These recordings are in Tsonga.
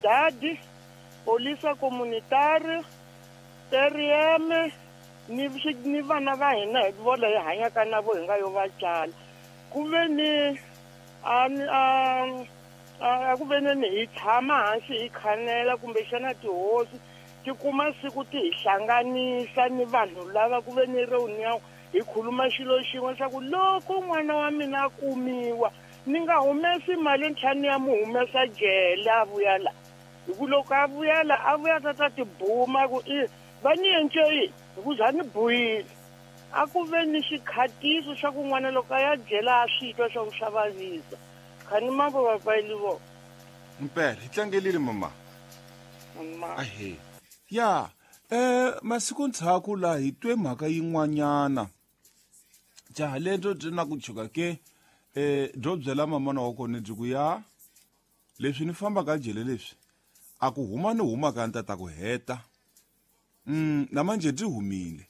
Comunidade, Polícia Comunitária, TRM ni ni vana va hina hi vona hi hanyaka na vo hi nga yo va tsala ku ve ni a a ku ve ni hi tshama hansi hi khanela kumbexana tihosi ti kuma siku ti hi hlanganisa ni vanhu lava ku ve ni reunion hi khuluma xilo xin'we leswaku loko n'wana wa mina a kumiwa ni nga humesi mali ntlhanu ya mu humesa jele a vuya la hi ku loko a vuya la a vuya ta ta tibuma ku i va ni yence yini hi ku za ni buyile a ku ve ni xikhatiso xa ku n'wana loko a ya jela a swi twa swa ku swa vavisa khani mambo vapayili vo Mpela hi tlangelile mama. Ahe. Ya, eh masiku ndzhaku la hi twe mhaka yin'wanyana. Jaha lento byi na ku chuka ke eh byo byela mamana wa kona byi ku ya leswi ni fambaka jele leswi a ku huma ni huma ka ni ta ku heta. Na manje byi humile.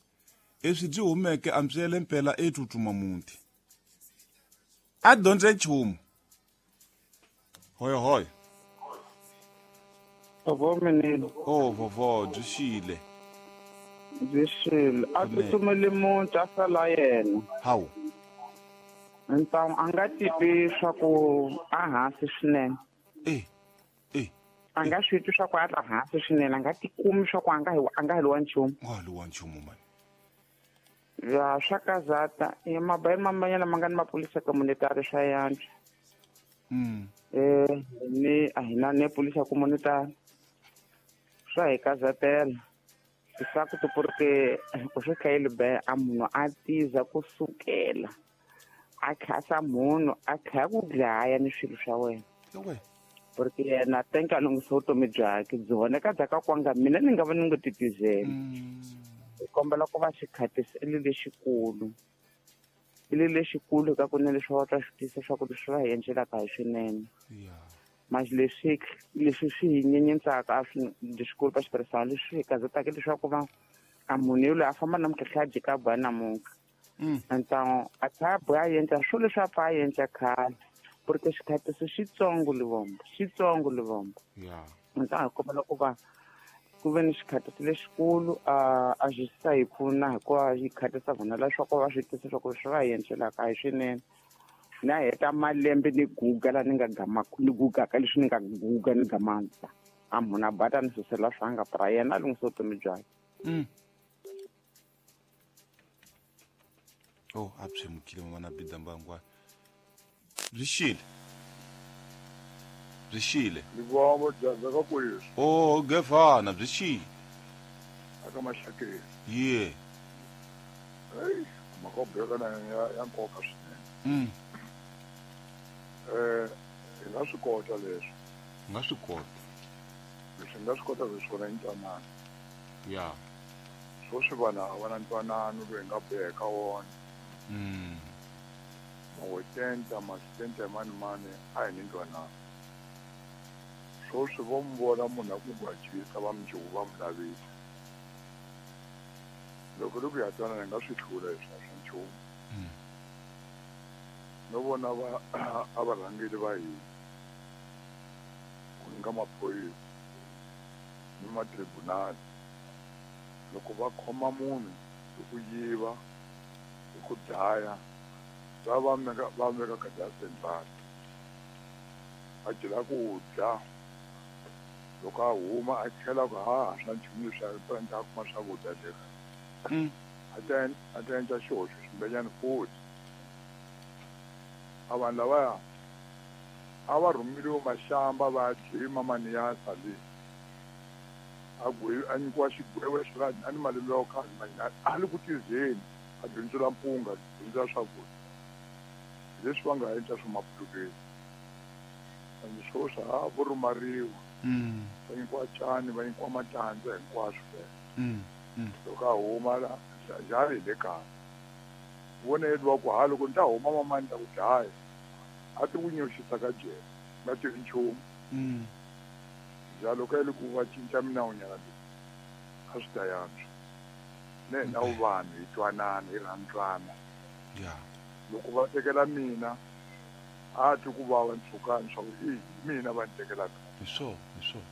Leswi byi humeke a mbyele mpela e tsutsuma muti. A dyondze nchumu. Hoyo hoyo. Vovo minini. Oh vovo byi xile. Byi xile. A tsutsumele muti a sala yena. Hawu. Ntamu a nga titwi swa ku a hansi swinene. Eh. Eh. A nga swi twi swa ku a la hansi swinene, a nga tikumi swa ku a nga hi a nga heliwa nchumu. Nga heliwa nchumu mani. Ya swa kazata e mabayi mamanyana ma nga ni mapolisa communitary swa yantswa. Eh ni a hi na ne polisa communitary. Swa hi kazatela. Swa ku porque ku swi hlayile be a munhu a tiza kusukela a khasa munhu a tlhaya ku dlaya ni swilo swa wena. Porque yena tenka a lunghisa vutomi byakhe byi voneka bya ka kwanga mina ni nga va ni ngo titizeli. Hi kombela ku va xikhatisi i lexikulu. I lexikulu ka ku ne leswi va twa swi tisa swa ku leswi va hi endlelaka hi swinene. Manje leswi leswi swi hi nyenyetsaka a swi leswikulu ka xitirhisana leswi hi kazetaka leswaku va a munhu yoloye a famba namuntlha tlhela a jika a boha namuntlha. Então a tlhela a boha a endla swilo leswi a pfa a endla khale porque xikhatiso xitsongo livombo xitsongo livombo. Então hi kombela ku va ku ve ni xikhatiso lexikulu a a xi sa hi pfuna hikuva yi khatisa vona leswaku va swi tisa swa ku leswi va hi endlelaka a hi swinene. Na heta malembe ni guga la ni nga gama ni gugaka leswi ni nga guga ni gamanta a munhu a bata ni susela swa nga pra yena a lunghisa vutomi byakhe. Oh a pshemukile mama na bida mbangwa. Byi xile. Byi xile. Livombo dyandza ka kweswi. Oh gefana byi xile. Aka maxakeni. Yeah. Hey, mhaka yo beka na ya ya nkoka swinene. Eh, hi nga swi kota leswi. Nga swi kota. Leswi nga swi kota leswi swona i ntwanano. Ya. Sweswi vanhu a va na ntwanano lowu hi nga boheka wona. Mawetenta, masitenta mani mani a hi ni ntwanano. Sweswi vo mi vona munhu a ku gwajisa va mundzuku va mi lavisa. Loko ri ku ya twanana hi nga swi hlula leswi a swa nchumu. No vona va a va rhangeli va hina ku nga maphorisa ni matribunali loko va khoma munhu hi ku yiva hi ku dlaya va va meka va veka ka central a jela ku dya loko a huma a tlhela ku ha swa nchumu leswi a ta kuma swakudya le a ta a ta endla xihoxo ximbenyani futhi a vanhu lavaya a va rhumeliwe maxamba va ya jima maniyasa le a a nyikiwa xigwevo xo a ni malembe yo khale manyana a li ku tizeni a bindzula mpunga a bindzula swakudya hi leswi va nga endla swa mapulukeni and swoswi ha vo rhumariwa va nyikiwa cani va nyikiwa matandza hinkwaswo loko a huma la njhani hi le kaya vona yedwa ku ha loko ni ta huma mamani ta ku dlaya a ti ku nyoxisa ka jele nga tivi nchumu njalo ka le ku va cinca minawunyana leyi a swi ta yantswa ne hina wu vanhu hi twanana hi rhandzana. Loko va tekela mina a twi ku vava ntshukani swa ku i hi mina va ni tekelaka. Hi swona, hi swona.